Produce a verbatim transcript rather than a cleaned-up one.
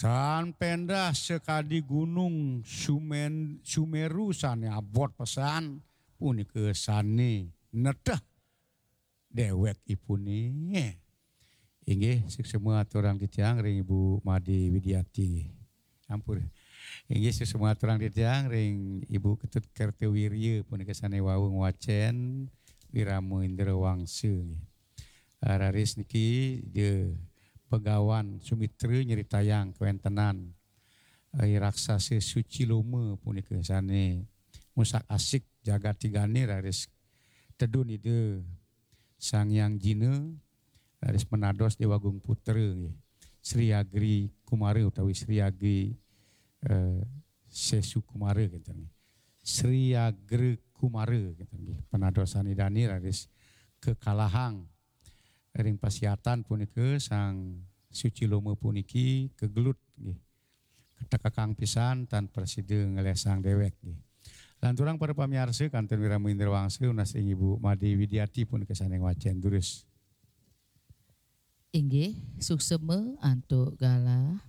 Tan pendah sakadi gunung Sumen, Sumeru sane abot pesan, punika sane nedeh dewekipune. Inggih, suksma aturang titiang ring Ibu Made Widiati. Ampun. Inggih, suksma aturang titiang ring Ibu Ketut Kertawirya punika sane wau ngwacen Wirama Indra Wangsa. Ah, raris niki Ida Begawan Sumitra nyritayang kawentenan, eh, raksasa Suciloma punika sane ngusak-asik jagat tigane raris tedun Ida Sang Hyang Jina, raris menados Dewa Agung Putra nggih. Sri Agri Kumara utawi Sri Agri, eh, Sesu Kumara kinten nggih. Sri Agri Kumara kinten nggih. Penadosan Idane raris kakalahang ring pasiatan punika Sang Suciloma puniki kagelut nggih. Katekekang pisan tan prasida nglesang dewek nggih. Lanturang para pamiarsa kantun Wirama Indra Wangsa nunas ring Ibu Made Widiati punika sane ngwacen durus. Inggih, suksma antuk galah